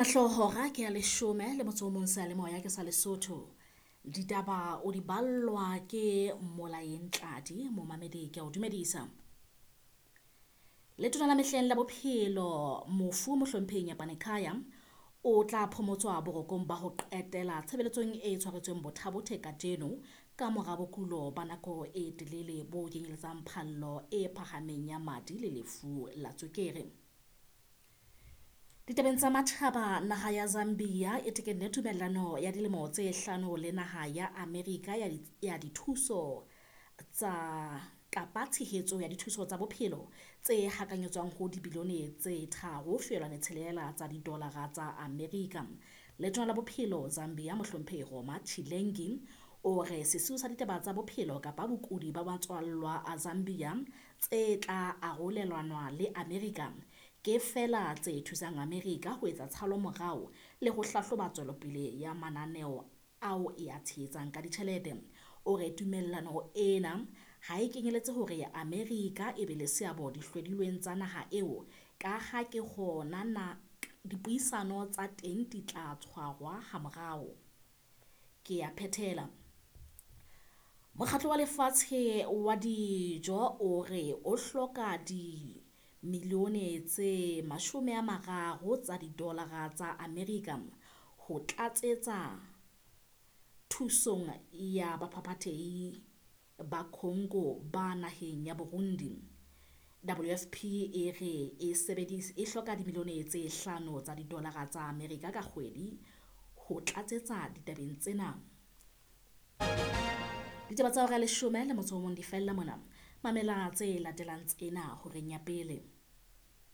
Hora ke ya 11 seyalemoya ke sa Lesotho. Ditaba o di ballwa ke Molaeng Tladi, momamedi ke a o dumedisa. Letona la mehleng la bophelo mofu mohlomphehi Nyapane Khaya o tla phomotswa borokong ba ho qetela tshebeletsong e tshwaretsweng Botha-Bothe kajeno ka mora bokulo ba nako e telele bo kenyeletsang phallo e phahameng ya madi le lefu la tswekere. Ditabeng tsa matjhaba, naha ya Zambia e tekenne tumellano ya dilemo tse 5 le naha ya Amerika ya dithuso tsa kapa tshehetso ya dithuso tsa bophelo tse hakanyetswang ho dibilione tse 3.6 tsa didolara tsa Amerika. Letona la bophelo Zambia mohlomphehi Roma Chilengi o re sesiu sa ditaba tsa bophelo kapa bokudi ba matswallwa a Zambia tse tla arolelanwa le Amerika ke feela tse thusang Amerika ho etsa tshalo morao le ho hlahloba tswelopele ya mananeo ao e a tshehetsang ka ditjhelete. O re tumellano ena ha e kenyeletse hore Amerika e be le seabo dihlodilweng tsa naha eo ka ha ke hona na dipuisano tsa teng di tla tshwarwa ha morao. Ke a phethela. Mokgatlo wa Lefatshe wa Dijo o re o hloka dimilione tse 30 tsa didolara tsa Amerika ho tlatsetsa thusong ya baphaphathehi ba Congo ba naheng ya Burundi. WFP e re e e hloka dimilione tse 5 tsa didolara tsa Amerika ka kgwedi ho tlatsetsa ditabeng tsena. Ditaba tsa hora ya 11 di fella mona. Mamela tse latelang tsena horeng ya pele.